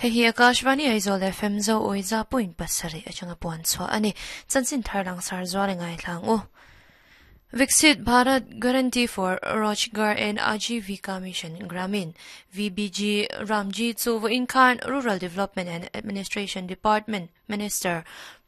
Hei hi Akashvani Aizawl FM Zo Awiza point pasarih atanga puan chhuah a ni. Chanchin thar langsar zual i ngaithlang u. Viksit Bharat Guarantee for Rojgar and Ajeevika Mission Gramin, VBG, Ramji chu vawiin khan Rural Development and Administration Department Minister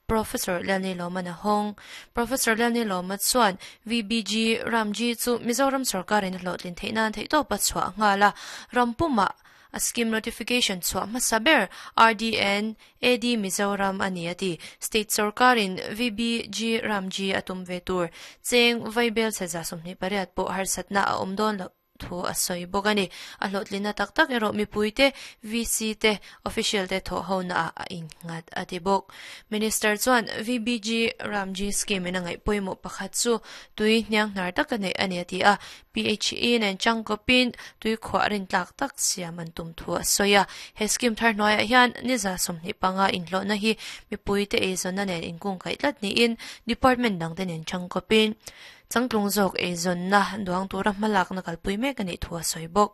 Professor Lalni Lawman a hawng. Professor Lalni Lawma chuan VBG Ramji chu Mizoram sorkarin a hlawhtlin theih nan theihtawp a chhuah nghal a, ram pumah a scheme notification chhuah hmasa ber RDN AD Mizoram a ni a ti. State sorkarin VBG Ramji a tum ve tur cheng vaibel chhe 28 pawh harsatna a awm dawn loh thu a sawi bawk a ni. A hlawhtlinna tak tak erawh mipuite, VC te, official te thawh hona ah a innghat a ti bawk. Minister chuan VBG Ramji scheme in a ngaih pawimawh pakhat chu tui hnianghnar taka neih a ni a ti a, PHE nen changkawpin tui khuah rintlak tak siam an tum thu a sawi a. He scheme thar hnuaiah hian ni 25 inhlawhna hi mipuite eizawnna nen inkungkaih tlat niin department dangte nen changkawpin Changtlung zawk eizawnna duang tura hmalakna kalpui mek a nih thu a sawi bawk.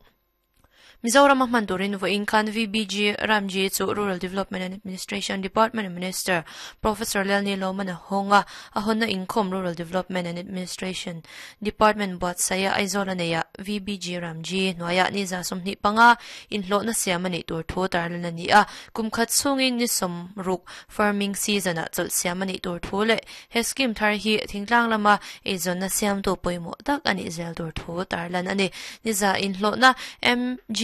Mizorama hman turin vawiin khan VBG Ramji chu Rural Development and Administration Department Minister Professor Lalni Lawman a hawng a, a hawnna inkhawm Rural Development and Administration Department buatsaia Aizawl a neih ah VBG Ramji hnuaiah ni 25 inhlawhna siam a nih tur thu tarlan a ni a, kum khat chhungin ni 60 farming season ah chawlh siam a nih tur thu leh He scheme thar hi thingtlang lama eizawnna siamtu pawimawh tak a nih zel tur thu tarlan a ni. Niza inhlawhna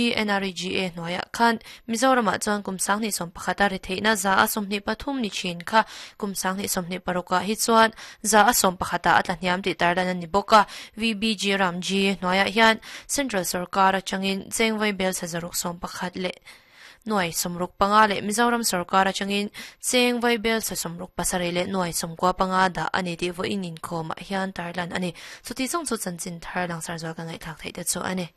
MGNREGA hnuaiah khan Mizoramah chuan kum 2011 a ri theihna 23% ni thin kha kum 2026 ah hi chuan 11% ah a tlahniam tih tarlan a ni bawk a. VBG Ramji hnuaiah hian Central sorkar atangin chengvai bel chhe 611 leh Nuai 65 leh Mizoram sorkar atangin cheng vaibel chhe 67 leh nuai 95 dah a ni tih vawiin inkhawmah hian tarlan a ni. Chuti chung chu chanchin thar langsar zual ka ngaihthlak theih te chu a ni.